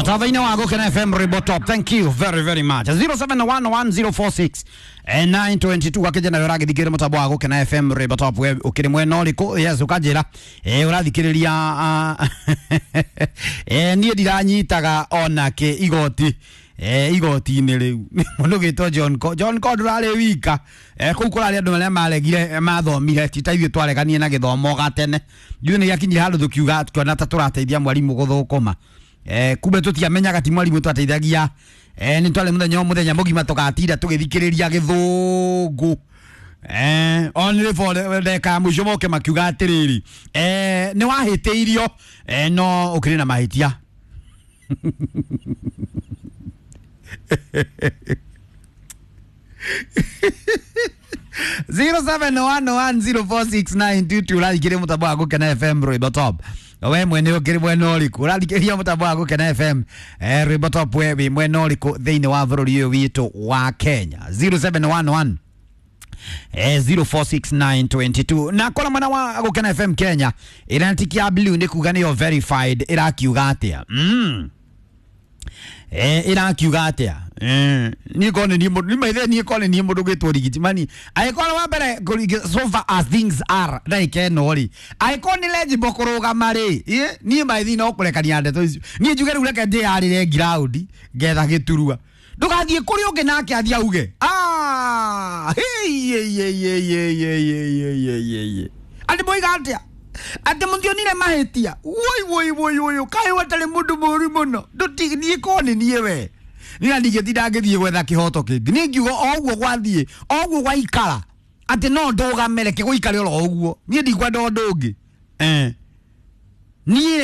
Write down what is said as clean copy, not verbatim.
Mũtambo-inĩ wa Gũkena FM Rwĩmbo Top. Thank you very very much. 07111046 922 gakĩnjĩra nawe ũragĩthikĩrĩria mũtambo wa Gũkena FM Rwĩmbo Top, we ũkĩrĩ mwena ũrĩkũ? Yes, ũkanjĩra ũrathikĩrĩria niĩ ndiranyitaga onakĩ igoti igoti-inĩ rĩu. Mũndũ gĩtwo John Co John Co ndũrarĩ wika kũu kũrarĩ andũ arĩa maregire mathomire ti ta ithuĩ twareganie na gĩthomo gatene. Ithuĩ nĩ gĩakinyire handũ tũkiuga tuona ta tũrateithia mwarimũ gũthũkũma, kumbe tũtiamenyaga ti mwarimũ twateithagia. Nĩ twarĩ mũthenya o mũthenya mũgima tũgatinda tũgĩthikĩrĩria gĩthũngũ. Only for ndeka ya mũico moke makiuga atĩrĩrĩ, nĩ wahĩtĩirio, no ũkĩrĩ na mahĩtia. 0711046922 ũrathikĩrĩria mũtambo wa Gũkena FM Rwĩmbo Top. We mwene ũkĩrĩ mwena ũrĩkũ ũrathikĩrĩria mũtambo wa Gũkena FM Rwĩmbo Top? We wĩ mwena ũrĩkũ thĩinĩ wa bũrũri ũyũ witũ wa Kenya? 0711 046922 na kora mwena wa Gũkena FM Kenya ĩrantiki ya blue nĩ kuga nĩyo verified. Ĩrakiuga atĩa? Ĩrakiuga atĩa? Niĩ korwo nĩ niĩ mũndũ nĩ maithe, niĩ korwo nĩ niĩ mũndũ gwĩtwo Rigitimani, angĩkorwo wa mbere so far as things are ndagĩka ĩno rĩ, angĩkorwo nĩ legible kũrũgama rĩ, niĩ maithi no kũrekania ndeto icio. Niĩ njuge rĩu reke ndĩyarĩre ground ngetha gĩturua, ndũgathiĩ kũrĩ ũngĩ nake athiĩ auge, "Ah, hey, hey, hey, hey, hey, hey, hey, hey, hey, hey, hey." Atĩ moiga atĩa? Atĩ mũtionire mahĩtia? Woi woi woi woi, kaĩ watarĩ mũndũ mũru mũno. Ndũti niĩ korwo nĩ niĩ we niĩ na ndingĩtinda ngĩthiĩ gwetha kĩhoto kĩngĩ. Niĩ ngiuga o ũguo gwathiĩ o ũguo gwaikara atĩ no ndũgame, reke gũikare oro ũguo. Niĩ ndikwenda ũndũ ũngĩ, niĩ.